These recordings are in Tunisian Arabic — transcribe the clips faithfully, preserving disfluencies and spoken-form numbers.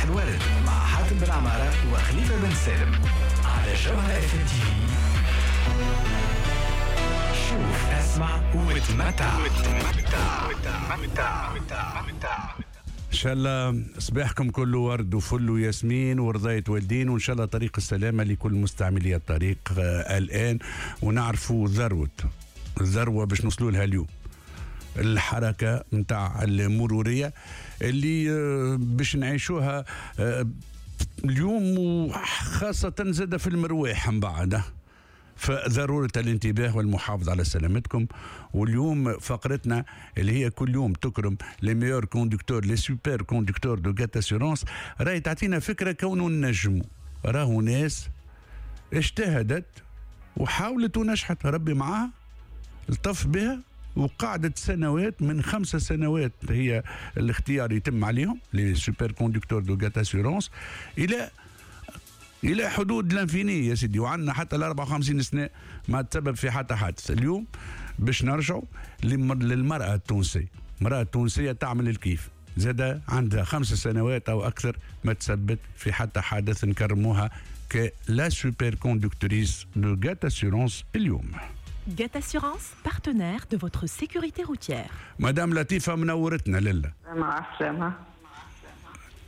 الورد مع حاتم بن عمارة وخليفة بن سالم على جوهرة اف ام تي في. شوف، اسمع وتمتع. وتمتع وتمتع وتمتع. ان شاء الله صباحكم كله ورد وفل وياسمين ورضاية والدين، وان شاء الله طريق السلامة لكل مستعملي الطريق آه الان. ونعرفوا ذروة الذروة باش نوصلوا لها اليوم، الحركة نتاع المرورية اللي آه باش نعيشوها آه اليوم، وخاصة زاد في المرواح من بعد. فضرورة الانتباه والمحافظة على سلامتكم. واليوم فقرتنا اللي هي كل يوم تكرم les meilleurs conducteurs، les super conducteurs de GAT Assurances، راهي تعطينا فكرة كونه نجموا، راهو ناس اجتهدت وحاولت ونجحت، ربي معاها الطف بها، وقعدت سنوات، من خمسة سنوات هي الاختيار يتم عليهم les super conducteurs de GAT Assurances الى الى حدود l'infini يا سيدي، وعندنا حتى ال أربعة وخمسين سنة ما تسبب في حتى حادث. اليوم باش نرجعوا للمراة التونسية، المراة التونسية تعمل الكيف، زاد عندها خمس سنوات او اكثر ما تسبب في حتى حادث، نكرموها ك la super conductrice de GAT Assurances اليوم. GAT Assurance, partenaire de votre sécurité routière. مدام لطيفة منورتنا لله. مع السلامة.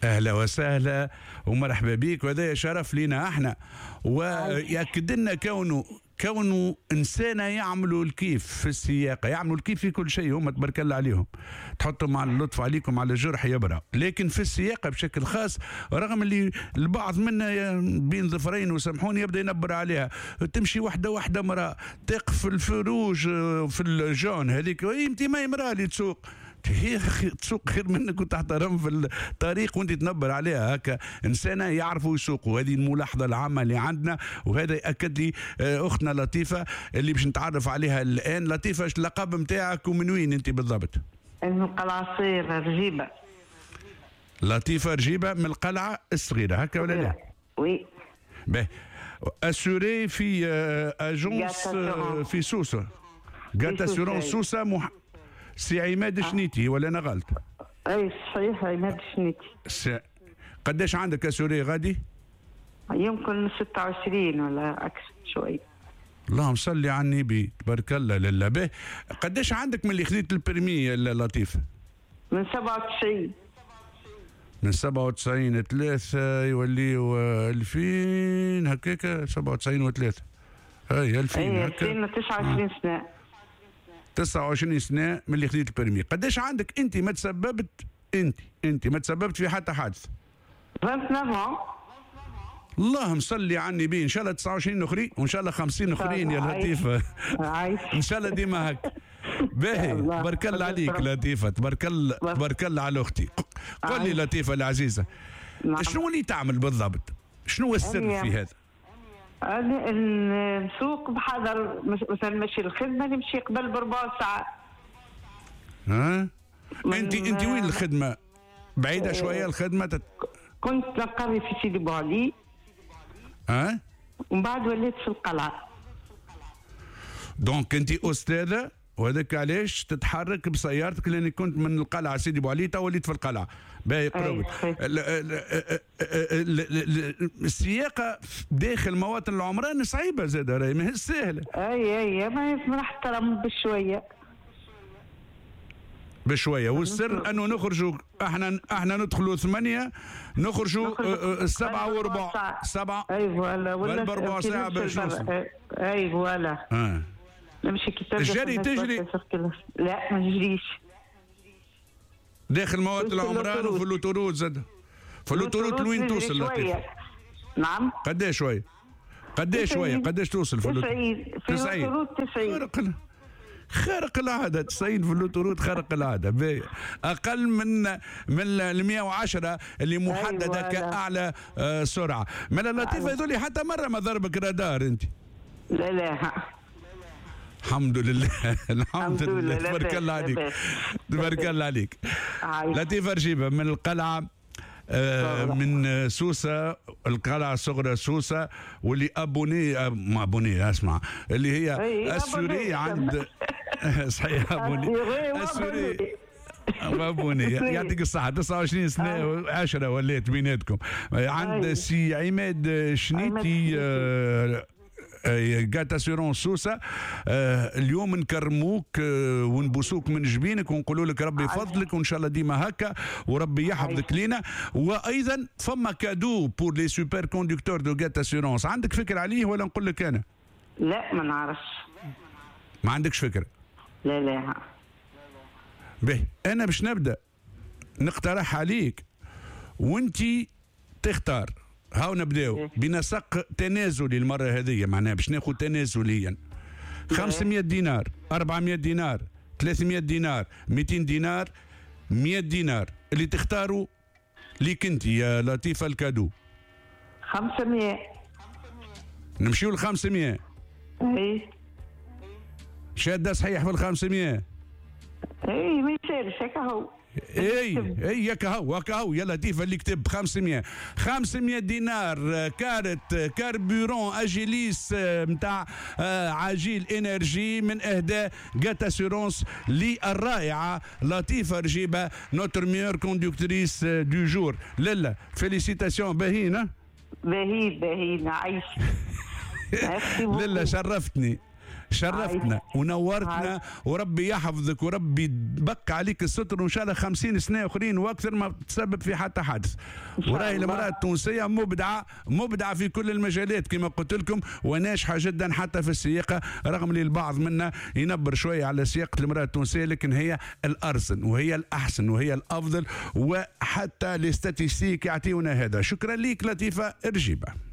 اهلا وسهلا ومرحبا بك، وهذا شرف لنا احنا، ويأكد لنا كونه كونه انسانه يعملوا الكيف في السياقه، يعملوا الكيف في كل شيء، هم تبارك الله عليهم، تحطهم على اللطف عليكم على الجرح يبرأ، لكن في السياقه بشكل خاص، رغم اللي البعض منا بين ظفرين وسامحوني يبدا ينبر عليها، تمشي واحدة واحدة مراة تقف في ال feu rouge في ال jaune هذيك، انت ما مراة اللي تسوق، هي تسوق خير منك وتحترم في الطريق وانت تنبر عليها. هكا انسانه يعرفوا يسوقوا، هذه الملاحظة العامة اللي عندنا، وهذا ياكد لي اختنا لطيفة اللي باش نتعرف عليها الان. لطيفة، ايش اللقب نتاعك ومن وين انت بالضبط؟ من القلعة الصغيرة رجيبه. لطيفة رجيبه من القلعة الصغيرة، هكا ولا لا؟ oui. باهي، assurée في agence في سوسة، GAT Assurances سوسة، مح... سي عماد شنيتي ولا انا غلط؟ اي صحيح، عماد شنيتي. س... قداش عندك assurés غادي؟ يمكن ستة وعشرين ولا اكثر شوي. اللهم صل على النبي، تبارك الله. لله به. قداش عندك من اللي خذيت ال permis يا لطيف؟ من سبعة وتسعين. من سبعة وتسعين ثلاثة يوليو ألفين هكاك، سبعة وتسعين وثلاثة هاي ألفين هكا، ألفين وتسعة وعشرين سنة. تسعة وعشرين سنة من اللي خذيت ال permis. قداش عندك أنت ما تسببت، أنت أنت ما تسببت في حتى حادث؟ تسعة وعشرين. اللهم صل على النبي، ان شاء الله تسعة وعشرين اخرين وان شاء الله خمسين اخرين يا لطيفة. ان شاء الله ديما هكا. باهي، تبارك الله عليك لطيفة، تبارك الله تبارك الله على اختي. قل لي لطيفة العزيزة، شنو اللي تعمل بالضبط؟ شنو هو السر في هذا؟ أنا نسوق بحذر، مثلا ماشي الخدمة نمشي قبل بربع ساعة. ها؟ انت انت وين الخدمة؟ بعيدة شوية الخدمة تت... كنت نقري في سيدي بوعلي. ها؟ ومن بعد وليت في القلعة. donc انت استاذة، وهذاك علاش تتحرك بسيارتك، لانك كنت من القلعة سيدي بوعلي تو وليت في القلعة. باهي قربت. السياقه داخل مواطن العمران صعيبة زاده، راهي ماهيش سهلة. اي اي ما نحترم بشوية بشوية، والسر انه نخرجوا احنا احنا ندخلوا ثمانية، نخرجوا سبعة وربع، سبعة اي voilà، ولا بربع ساعة باش نوصل. اي voilà. اه نمشي كي تبدا الجري تجري؟ لا ما نجريش داخل مواطن العمران وفي l'autoroute زاد. في l'autoroute لوين توصل لطيف؟ نعم. قداش شوية؟ قداش شوية؟ قداش توصل في l'autoroute؟ تسعين. في l'autoroute تسعين. خارق العادة، تسعين في l'autoroute خارق العادة، اقل من من ال مية وعشرة اللي محددة. أيوة كاعلى سرعة. من اللطيفة هذول حتى مرة ما ضربك رادار انت؟ لا لا الحمد لله. الحمد لله، تبارك الله عليك، تبارك الله عليك. لطيفة رجيبه من القلعة، آه من سوسة، القلعة الصغرى سوسة، واللي abonnée ما abonnée اسمع اللي هي assurée عند صحيح abonnée assurée بابوني يعطيك الصحة، تسعة وعشرين سنة عشرة ولات بيناتكم. عند سي عماد شنيتي GAT Assurances سوسة، آه اليوم نكرموك آه ونبوسوك من جبينك ونقولوا لك ربي يفضلك وان شاء الله ديما هكا وربي يحفظك لينا. وايضا فما cadeau pour les super conducteurs de GAT Assurances، عندك فكرة عليه ولا نقول لك انا؟ لا ما نعرفش. ما عندكش فكرة؟ لا لا. به انا باش نبدا نقترح عليك وانت تختار. هاو نبداو بنسق تنازلي المرة هذه، معناها باش ناخذ تنازليا خمسمية دينار، أربعمية دينار، ثلاثمية دينار، مئتين دينار، مية دينار، اللي تختاروا ليك انت يا لطيفة ال cadeau. خمسمية. نمشيو ل خمسمية. اي شاده صحيح في ال خمسمية. اي ما يسالش هكا هو. اي اي ياك هو هكا هو يا لطيفة اللي كتب خمسمية. خمسمية دينار carte carburant Agilis نتاع عجيل énergie من اهداء GAT Assurances للرائعه لطيفة رجيبه notre meilleure conductrice du jour. لالا félicitations، باهيين. باهيين باهيين عايش. لالا شرفتني، شرفتنا ونورتنا، وربي يحفظك وربي يبقى عليك الستر، وان شاء الله خمسين سنة اخرين واكثر ما تسبب في حتى حادث. وراهي المراة التونسية مبدعة مبدعة في كل المجالات كما قلت لكم، وناجحة جدا حتى في السياقه، رغم اللي البعض منا ينبر شوية على سياقه المراة التونسية، لكن هي الارزن وهي الاحسن وهي الافضل، وحتى les statistiques يعطيونا هذا. شكرا لك لطيفة رجيبه.